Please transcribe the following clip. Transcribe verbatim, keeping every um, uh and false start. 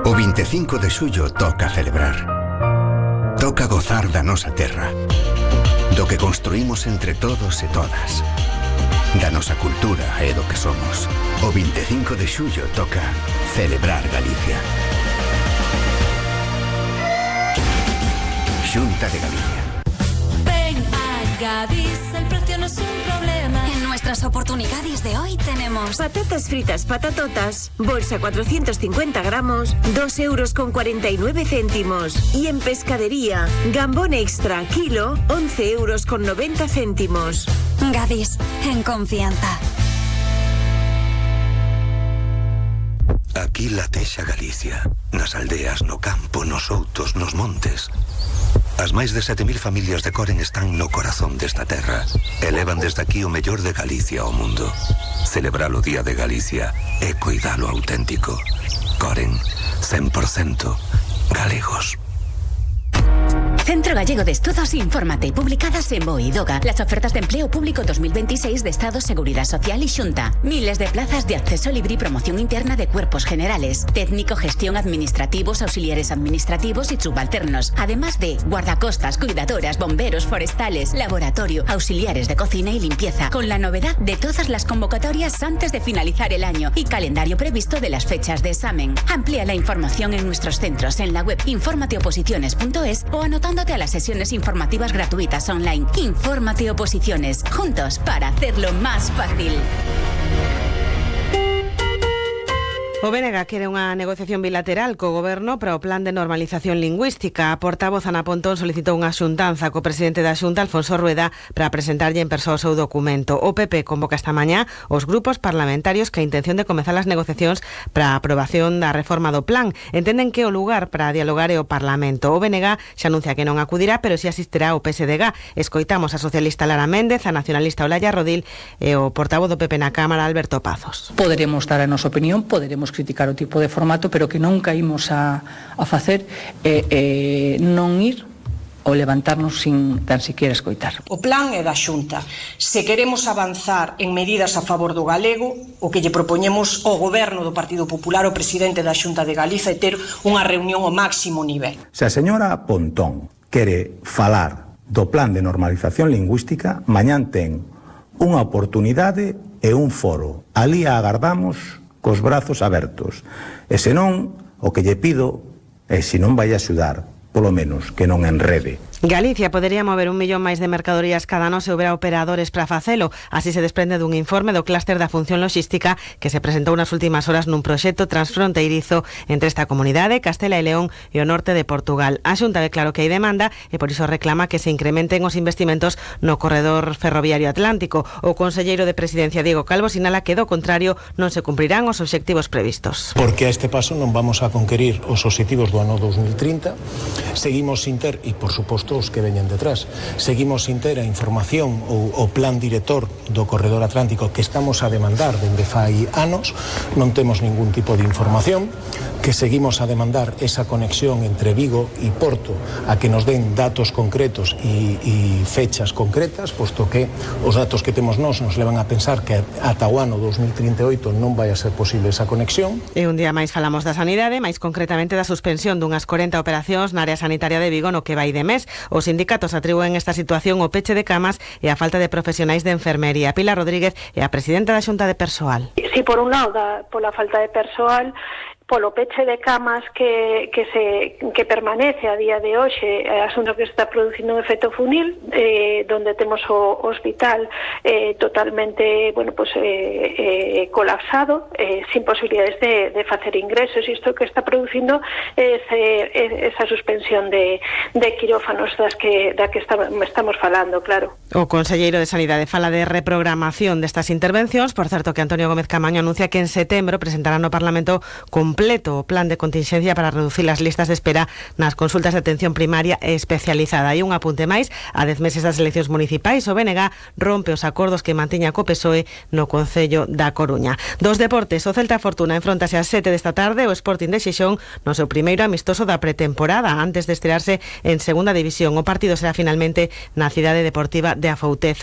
O vinte e cinco de xullo toca celebrar. Toca gozar da nosa terra, do que construímos entre todos e todas, da nosa cultura e do que somos. O vinte e cinco de xullo toca celebrar Galicia. Xunta de Galicia. Ven a Gadis, el precio no es un problema. En nuestras oportunidades de hoy tenemos patatas fritas patatotas, bolsa cuatrocientos cincuenta gramos, dos euros con cuarenta y nueve céntimos. Y en pescadería, gambón extra, kilo, once euros con noventa céntimos. Gadis, en confianza. Aquí latexa Galicia, nas aldeas, no campo, nos outos, nos montes. As máis de sete mil familias de Coren están no corazón desta terra e levan desde aquí o mellor de Galicia ao mundo. Celebrar o Día de Galicia e cuidalo auténtico. Coren, cen por cento galegos. Centro Gallego de Estudos Infórmate, publicadas en BOE y DOGA. Las ofertas de empleo público dos mil veintiséis de Estado, Seguridad Social y Xunta. Miles de plazas de acceso libre y promoción interna de cuerpos generales, técnico, gestión, administrativos, auxiliares administrativos y subalternos. Además de guardacostas, cuidadoras, bomberos, forestales, laboratorio, auxiliares de cocina y limpieza. Con la novedad de todas las convocatorias antes de finalizar el año y calendario previsto de las fechas de examen. Amplía la información en nuestros centros en la web informateoposiciones punto es o anotando a las sesiones informativas gratuitas online. Infórmate Oposiciones, juntos para hacerlo más fácil. O B N G quere unha negociación bilateral co Goberno para o plan de normalización lingüística. A portavoz Ana Pontón solicitou unha xuntanza co presidente da Xunta, Alfonso Rueda, para presentarlle en persoa o seu documento. O P P convoca esta mañá os grupos parlamentarios que a intención de comezar as negociacións para a aprobación da reforma do plan. Entenden que o lugar para dialogar é o Parlamento. O B N G xa anuncia que non acudirá, pero si asistirá o P S D G. Escoitamos a socialista Lara Méndez, a nacionalista Olaya Rodil e o portavoz do P P na Cámara, Alberto Pazos. Poderemos dar a nosa opinión, poderemos criticar o tipo de formato, pero que non caímos a, a facer eh, eh, non ir ou levantarnos sin tan siquiera escoitar. O plan é da Xunta. Se queremos avanzar en medidas a favor do galego, o que lle propoñemos ao Goberno do Partido Popular, o presidente da Xunta de Galiza, é ter unha reunión ao máximo nivel. Se a señora Pontón quere falar do plan de normalización lingüística, mañán ten unha oportunidade e un foro. Ali a agardamos cos brazos abertos. E senón, o que lle pido é, se non vai a axudar, polo menos que non enrede. Galicia podería mover un millón máis de mercadorías cada ano se houbera operadores para facelo. Así se desprende dun informe do clúster da función logística que se presentou nas últimas horas nun proxecto transfronteirizo entre esta comunidade, Castela e León e o norte de Portugal. A Xunta ve claro que hai demanda e por iso reclama que se incrementen os investimentos no corredor ferroviario atlántico. O conselleiro de Presidencia, Diego Calvo, sinala que do contrario non se cumprirán os obxectivos previstos. Porque a este paso non vamos a conquerir os obxectivos do ano dos mil trinta. Seguimos sin ter, e por suposto os que veñen detrás, seguimos sin ter a información ou o plan director do corredor atlántico que estamos a demandar dende fai anos, non temos ningún tipo de información, que seguimos a demandar esa conexión entre Vigo e Porto, a que nos den datos concretos e, e fechas concretas, posto que os datos que temos nós nos levan a pensar que ata o ano dos mil trinta e oito non vai a ser posible esa conexión. E un día máis falamos da sanidade, máis concretamente da suspensión dunhas corenta operacións na área sanitaria de Vigo no que vai de mes. Os sindicatos atribúen esta situación ao peche de camas e a falta de profesionais de enfermería. Pilar Rodríguez é a presidenta da Xunta de Persoal. Si por un lado, da, pola falta de persoal, polo peche de camas que, que se que permanece a día de hoxe, é asunto que está producindo un efecto funil, eh, donde temos o hospital eh, totalmente, bueno, pues eh, eh, colapsado, eh, sin posibilidades de, de facer ingresos, e isto que está producindo ese, esa suspensión de, de quirófanos das que, da que está, estamos falando, claro. O conselleiro de Sanidade fala de reprogramación destas intervencións. Por certo, que Antonio Gómez Camaño anuncia que en setembro presentará no Parlamento completo o plan de contingencia para reducir as listas de espera nas consultas de atención primaria e especializada. E un apunte máis, a dez meses das eleccións municipais, o B N G rompe os acordos que mantiña co P S O E no Concello da Coruña. Dos deportes, o Celta Fortuna enfrontase ás sete desta tarde o Sporting de Xixón no seu primeiro amistoso da pretemporada antes de estrearse en segunda división. O partido será finalmente na Cidade Deportiva de Afouteza.